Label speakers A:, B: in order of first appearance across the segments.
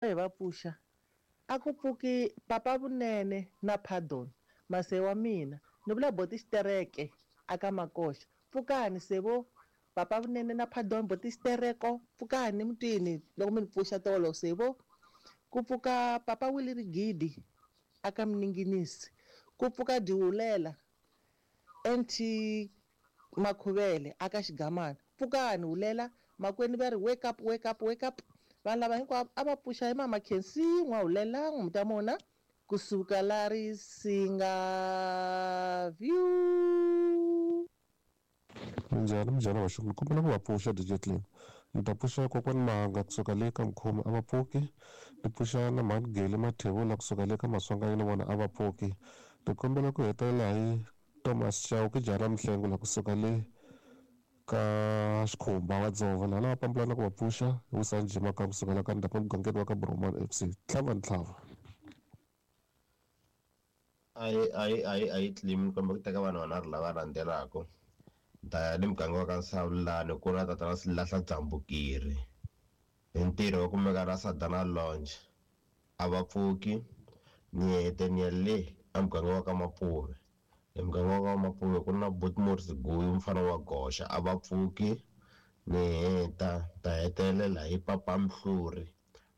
A: Hi va pfuxa, a ku pfuki Papa Vunene na Pardon, mase wa mina. Ni vula boti Xitereke a ka Makoxa. Pfukani se vo, Papa Vunene na Pardon, boti Xitereko, pfukani mutini loko mi ni pfuxa tolo se vo. Ku pfuka Papa Willie Rigidi a ka Mninginisi. Ku pfuka Dihulela NT Makhuvele a ka Xigamana. Pfukani Hulela, makwenu va ri wake up, wake up, wake up. Vanhu lava hinkwavo a va pfuxa hi Mama Khensi N'wahulela N'wamutamona kusuka la Risinga View.
B: Minjhani minjhani vaxungu ni kombela ku va pfuxa DJ Clem ni ta pfuxa kokwani Manga kusuka le ka Mkhoma a va pfuki ni pfuxa na mhani Geli Mathebula kusuka le ka Maswanganyi na vona a va pfuki ni kombela ku hetelela hi Thomas Chauke jaha ra Mihlengo la kusuka le ka Xikhumba wa Dzova laha va pambula na ku va pfuxa hi Wisani Jimaka kusuka la ka Ndapa mugangeni wa ka Boromani FC tlhava ni tlhava.
C: Ayi ayi ayi ayi Clem ni kombela ku teka vanhu vanharhu lava landzelaka ni ta ya ni muganga wa ka Nsawulani ku na tatana Silahla Dzambukiri hi ntirho wa kumeka la Sadana Lounge a va pfuki ni hete ni ya le a muganga wa ka Mapuve hi muganga wa ka Mapuve ku na Botmore Siguyi mufana wa goxa a va pfuki ni heta ta hetelela hi Papa Mhluri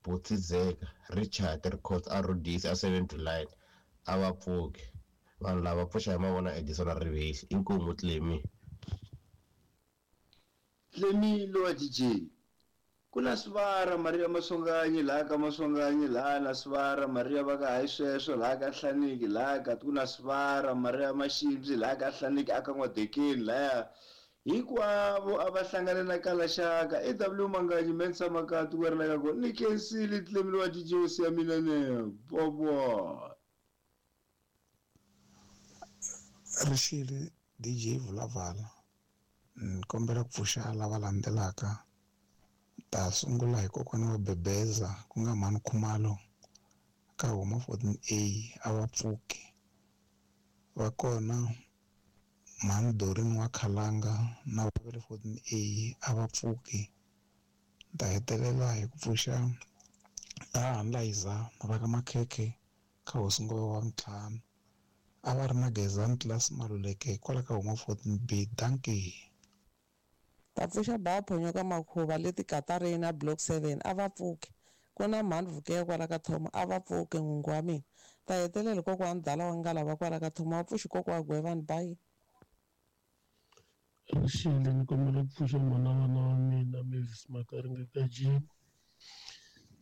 C: Butsi Zeka Richard Records a Rhodesi a 7 July a va pfuki vanhu lava pfuxa hi mavona Edison Rivesi inkomu Clemi.
D: Clemi lowa DJ ku na Sivara Maria Maswanganyi laha ka Maswanganyi laha na Sivara Maria va ka hayi sweswo laha ka Hlaniki laha ka ku na Sivara Maria Maximsi laha ka Hlaniki aka N'wadekeni laya hinkwavo a va hlangane na Kalaxaka AW Manganyi Mensa Makati ku ri la ka kona ni khensile Clemi lowa DJ hosi ya mina ne bobo.
E: Rixile DJ Vulavala ni kombela ku pfuxa lava landzelaka ta sungula hi kokwana wa Bebeza ku nga mhani Khumalo ka huma 14A a va pfuki va kona mhani Dorin wa Khalanga na va le 14A a va pfuki ta hetelela hi ku pfuxa hahani Layiza va ka Makhekhe ka hosi Ngove wa ntlhanu a va ri na Gezani Class Maluleke kwala ka huma 14B dankie.
F: Ta pfuxa ba phonyoka makhuva leti Katarina Block 7 a va pfuki ku na mhani Vukeye kwala ka Thoma a va pfuki n'wingi wa mina ta hetelela kokwani Dala wa Ngalava kwala ka Thoma wa pfuxi kokwa Gwevani bye.
G: Rixile ni kombela ku pfuxa mhana vana wa mina Mavis Makaringe ka Jim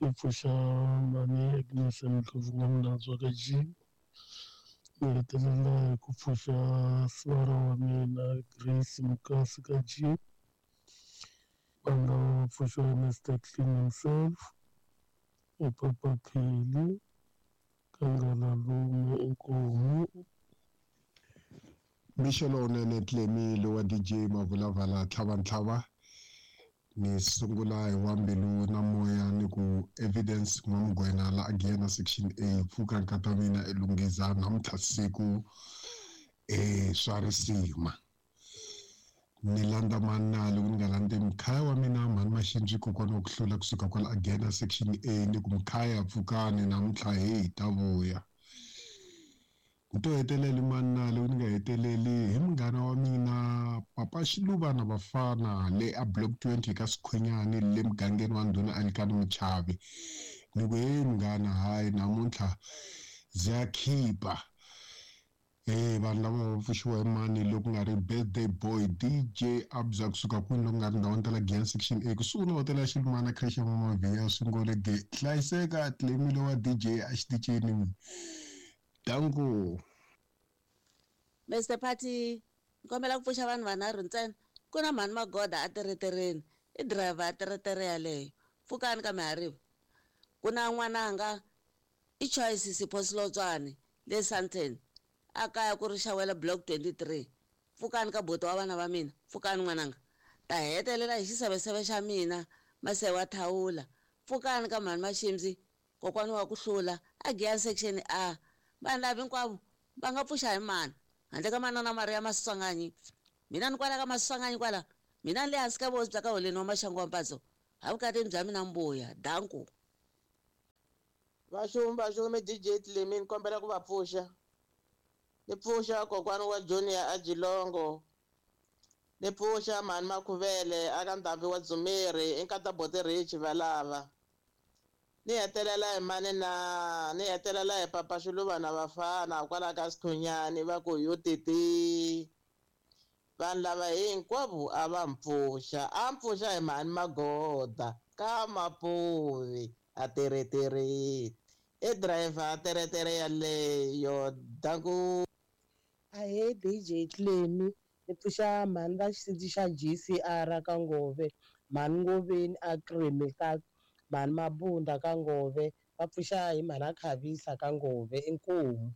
G: ni pfuxa mhani Agnes Ndlovu N'wamunandzwa ka Jim ni hetelela hi ku pfuxa sivara wa mina Grace Mukasi ka Jim vanhu lava va pfuxiwa Mr Clean himself i Papa Pheli ka Ngalalume inkomu.
H: Mixo lowunene Clemi lowa DJ Mavulavala tlhava ntlhava ni sungula hi wa mbilu na moya ni ku Evidence N'wamugwena la Giyani section A pfuka nkata mina e lunghiza namuntlha siku e swa risima ni landza mani loko ni nga landzi mkhaya wa mina mhani Maxindzi kokwana wa ku hlula kusuka kwala Agena section A ni ku mkhaya pfukani namuntlha heyi ta vuya ni to hetelela mani loko ni nga heteleli hi munghana wa mina Papa Xiluva na Vafana le a block 20 ka Sikhwinyani le mugangeni wa Ndhuna Alikani Muchavi ni ku hey munghana hayi namuntlha bya khipa vanhu lava va pfuxiwa hi mani loko nga ri birthday boy DJ Abza kusuka kwini loko nga ri ndhawini ta la Giyani section A kusuhi na hotela ya Xilumana creche ya Mama Vhiya Swingole ge hlayiseka Clemile wa DJ a xitichini danko.
I: Mr Party ni kombela ku pfuxa vanhu vanharhu ntsena ku na mhani Magoda a teretereni i driver ya teretere yaleyo pfukani ka mihariva ku na n'wananga i Choice Sipho Silotswane le Sandton a kaya ku ri xawela block 23 pfukani ka buti wa vana va mina pfukani n'wananga ta hetelela hi xiseveseve xa mina Masewa Thawula pfukani ka mhani Maximsi kokwani wa ku hlula a Giyani section A vanhu lava hinkwavo va nga pfuxa hi mani handle ka manana Maria Maswanganyi mina ni kwala ka Maswanganyi kwala mina ni le hansi ka vosi bya ka holeni wa Maxangu wa Mpatso ha vukatini bya mina mbuya danku.
F: Vaxumi DJ Tlemi ni kombela ku va pfuxa. Ni pfuxa kokwana wa Junior a Jilongo. Ni pfuxa mhani Makhuvele aka Ndhambi wa Dzumeri i nkata Boti Rich valava. Ni hetelela hi mani na ni hetelela hi Papa Xiluva na vafana kwala ka Sithunyani va ku yo titi. Vanhu lava hinkwavo a va mpfuxa, a mpfuxa hi mhani Magoda ka Mapuvi a teretere. I driver a teretere yaleyo danku.
J: Ahee DJ Tlemi ni pfuxa mhani va xisiti xa GCR ka Ngove, mhani Ngoveni a Kreme ka mhani Mabunda ka Ngove, va pfuxa hi mhani a Khavisa ka Ngove inkomu.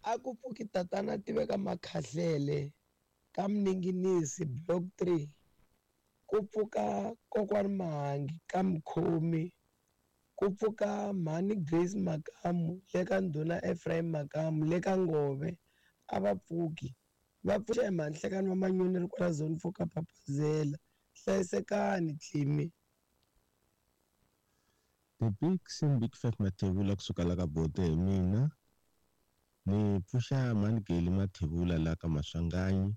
K: A ku pfuki tatana tiveka Makhahlele ka Mninginisi block 3. Ku pfuka kokwani Mahangi ka Mkhomi. Ku pfuka mhani Grace Makamu le ka ndhuna Ephraim Makamu le ka Ngove a va pfuki. Va pfuxa hi mhani Hlekani wa Manyoni ri kwala zone 4 ka Papazela. Hlayisekani Tlemi.
L: The big sim big five Mathebula kusuka la ka Bote hi mina. Ni pfuxa mhani Geli Mathebula la ka Maswanganyi.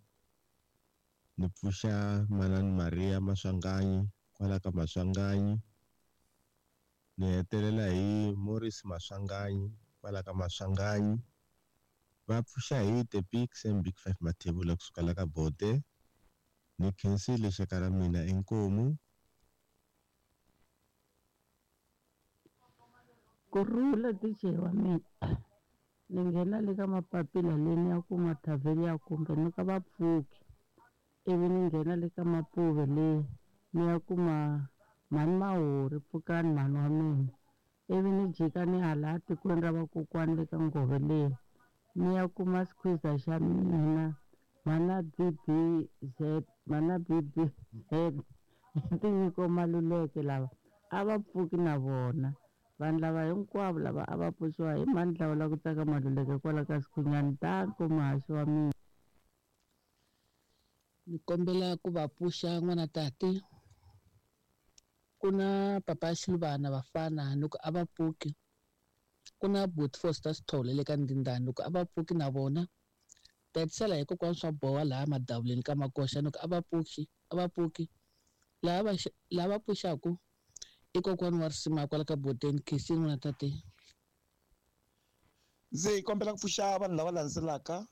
L: Ni pfuxa manani Maria Maswanganyi kwala ka Maswanganyi. Ni hetelela hi Morris Maswanganyi kwala ka Maswanganyi. Va pfuxa hi the big sam big five Mathebula kusuka la ka Bote. Ni khensile xaka ra mina inkomu.
M: Kurhula DJ wa mina. Ni nghena le ka mapapila leyi ni ya kuma thavheli ya kumbe ni ka vapfuki. Ivi ni nghena le ka Mapuve leyi ni ya kuma mhani Mahori pfukani mhani wa mina. Ivi ni jika ni hala tikweni ra vakokwani le ka Ngove leyi ni ya kuma squeezer xa mina mhana BBZ mhana BBZ Tinyiko Maluleke lava a va pfuki na vona. Vanhu lava hinkwavo lava a va pfuxiwa hi mhani Dlawula ku tsaka Maluleke kwala ka Sikhunyani danko muhaxi wa mina.
N: Ni kombela ku va pfuxa n'wana tati. Ku na Papa Xiluvana vafana loko a va pfuki. Ku na Bot Foster Sithole le ka Ndindani loko a va pfuki na vona. Ta hetisela hi kokwana swa boha laha madavuleni ka Makoxa loko a va pfuki, a va pfuki. Laha va pfuxaku i kokwana wa risima kwala ka Boteni Khensini n'wana tate.
O: Ndzi kombela ku pfuxa vanhu lava landzelaka.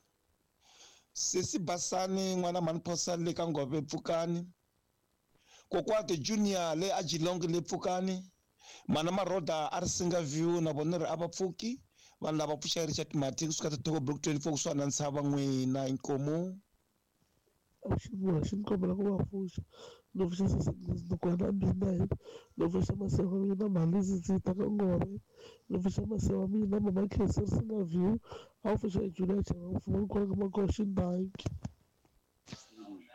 O: Sesi Basani n'wana mhani Phosa le ka Ngove pfukani. Kokwati Junior le a Jilongo le pfukani. Mana Maroda a ri Singa View na vona ri a va pfuki. Vanhu lava pfuxa Richard Mati kusuka Tithoko Block 24 kusuka na Ntshava n'wina inkomu.
G: Avuxeni ni kombela ku va pfuxa. Ni pfuxa sesi Nukwana mina, ni pfuxa masiva wa mina mhani Zizita ka Ngove, ni pfuxa masiva wa mina mama Khensani Singa View, a wu pfuxa Julia Chava mfumo kwala ka Makoxa Danki.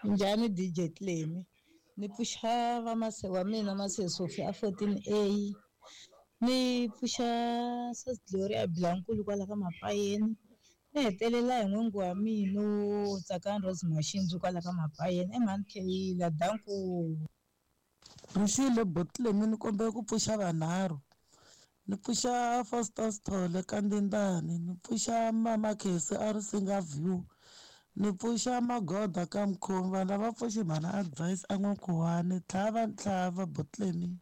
P: Njhani DJ Tlemi? Ni pfuxa vamase wa mina Mase Sophie a 14A. Ni pfuxa Sis Gloria Blankulu kwala ka Mapayeni. Ni hetelela hi n'wingi wa mina Tsakani Rose Mashinzi kwala ka Mapayeni. I mhani Kheyila danku.
F: Rixile Botlemi ni kombela ku pfuxa vanharhu. Ni pfuxa Foster Sithole ka Ndindani, ni pfuxa Mama Khesi a ri Singa View, ni pfuxa Magoda ka Mkhomi. Vanhu lava pfuxi mhana Advice a N'wankhuwani. Tlhava ntlhava Botlemi.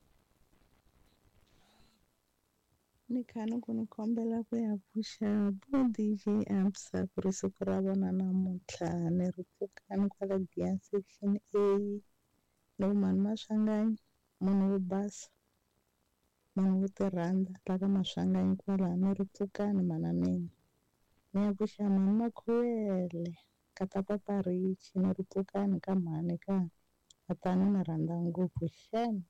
Q: Ni kha ni ku ni kombela ku ya pfuxa bo DJ Absa ku ri siku ra vona namuntlha. Ni ri pfukani kwala Giyani section A. Loko mhani Maswanganyi munhu wo basa, munhu wo tirhandza la ka Maswanganyi kwalaho ni ri pfukani mhana mina. Ni ya pfuxa mhani Makhuwele kata Papa Rich ni ri pfukani ka mhani ka tatana ni rhandza ngopfu xem.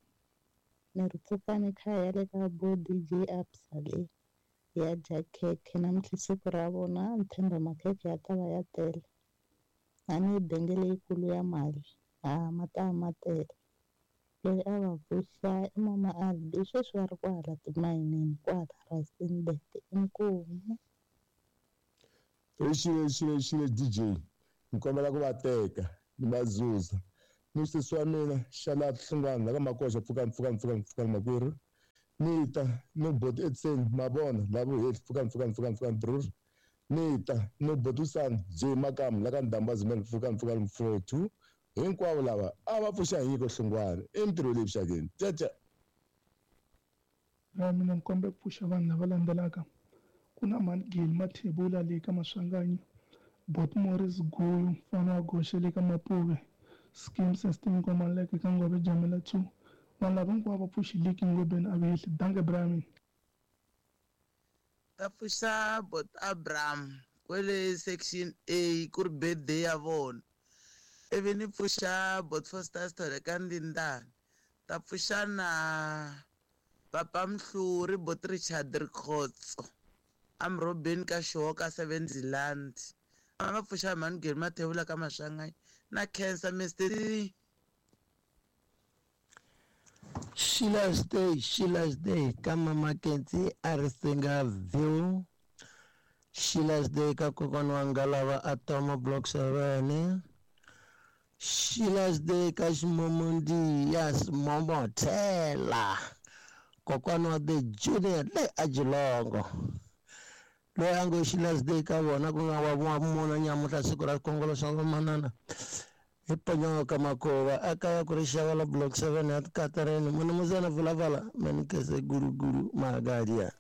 Q: Ni ri pfukani khaya le ka bo DJ Absa le ya dya khekhe namuntlha siku ra vona. Ni tshemba makhekhe ya ta va ya tele. A ni yi benge leyikulu ya mali a ma ta va ma tele. Loyi a va pfuxa i mama Albi sweswi va ri kwala timayinini kwala Rustenburg inkomu.
R: Xile DJ ni kombela ku va teka ni va zuza. Ni sesi wa mina xana Hlungwana la ka Makoxa pfukani pfukani pfukani pfukani makwerhu. Ni ta ni boti Edson Mavona la vuhehli pfukani pfukani pfukani pfukani brr. Ni ta ni boti Usani J Makamu la ka Ndamba Zimele pfukani pfukani 42. Hinkwavo lava a va pfuxa hi nyiko Hlongwane i mintirho leyi vuxakeni tete.
S: Ra mina ni kombela ku pfuxa vanhu lava landzelaka ku na mhani Geli Mathebula le ka Maswanganyi, Bot Morris Guyu mfana wa Goxe le ka Mapuve, Skim Sestin Nkomaleke ka Ngove Jamela 2. Vanhu lava hinkwavo va pfuxi Liki Ngobeni a vehli. Dankie bra mina.
T: Ta pfuxa bot Abraham kwele section A ku ri birthday ya vona. Ivi ni pfuxa bot Foster Sithole ka Ndindani. Ta pfuxa na Papa Mhluri bot Richard Rikhotso amrobeni ka Xihoka 7 Zealand. A va pfuxa mhani Geri Mathebula ka Maswanganyi na Khensa Mr C.
U: Sheila's Day, Sheila's Day ka Mama Kenzi a ri singa view. Sheila's Day ka kokwana wa Ngalava a Tomo Block 7. Sheila's Day ka Ximomondi ya Simomothela. Kokwana wa The Junior le a Jilongo. Loyi a ngo Sheila's Day ka vona ku nga wa muna nyamuhla siku ra xikongolo xa vamanana. Hi ponyoka makova a kaya ku ri xava la block 7 ya Tikatareni munumuzana vulavala manikese guruguru magadia.